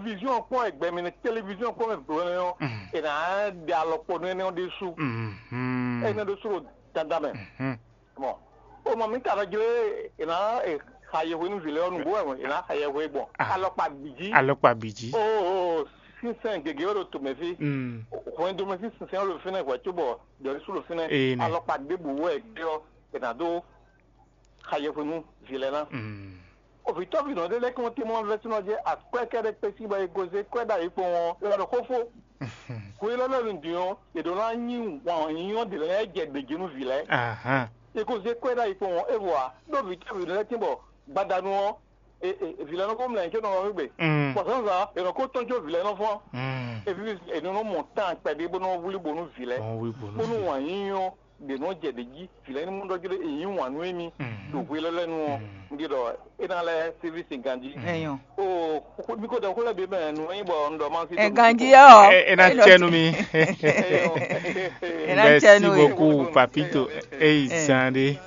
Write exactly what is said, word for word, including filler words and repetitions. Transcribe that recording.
Vision kpɔn, ẹgbẹ́ mi ní télévision kpɔn mɛ bló nɛ ɔ́, è nǎ ɖe alɔkpɔ́nú énɛ́ ɔ́ ɖésú. Énɛ́ ɖésú ɖo dandan mɛ. Bon, o mɔ mi ka nɔ jlé è nǎ xa yɛhwe nú vǐ lɛ́ɛ ɔ́ nǔgbó wɛ è nǎ xa yɛhwe gbɔn alɔkpa bǐ jí. Alɔkpa bǐ jí. Oo, sínsɛn gěgé wɛ ɖo tomɛ fí. Hwɛndo mɛ sín sínsɛn wɛ ɖo fínɛ́ hwɛ̌ cóbɔ ɖɔ̌lísú ɖo fínɛ́. Alɔkpa ɖěbǔ wɛ gbé ɔ́ è nǎ dó xa yɛhwe nú vǐ lɛ́ɛ ná. Ovǐtɔ́ví nɔ ɖé lɛ́ɛ kɔn tɛ́nmɔ vɛ́sínɔ jɛ akwɛ́ kɛ́ɖɛ́ kpé sín bɔ è gozé kwɛ́ ɖ'ayǐ kpɔ́n ɔ́, è wá ɖo xófó. Hwe élɔ́ lɛ́ɛ ɖě ɔ́, è ɖǒ ná nyí wǎn nyínyɔ́ ɖě lɛ́ɛ jɛ ɖě jí nú vǐ lɛ́ɛ. È gozé kwɛ́ ɖ'ayǐ kpɔ́n ɔ́, é vɔ ǎ, ɖó vǐtɔ́ví nɔ lɛ́ɛ tín bɔ gbadanu ɔ́, vǐ lɛ́ɛ nɔ ko mlɛ yě có nɔ wá wé gbe. Bɔ zǎnzǎn è nɔ ko tɔ́n jó vǐ lɛ́ɛ nɔ fɔ́n. Eví è nɔ nɔ mɔ tán kpɛɖé bó nɔ wlí bo nú vǐ lɛ́ɛ, bónú wǎn nyínyɔ́ ɖě nɔ jɛ ɖě jí, vǐ lɛ́ɛ ní mɔ ɖɔ jlé è nyí wǎn nú émí ɖo hwe lɛ́lɛ́ nu ɔ́, un ɖi ɖɔ é ná lɛ́ séví sin ganjí. Ɛyɔn. O, mi ko ɖɔ xó lɛ́ɛ bǐ mɛ nǔ e nyí bɔ un ɖɔ ma sí. Ɛ ganjí ɔ́. Ɛ ɛ ná cɛ nú mi. Ɛ ná cɛ nú Merci we. Beaucoup, Papito. Eyi zan ɖé.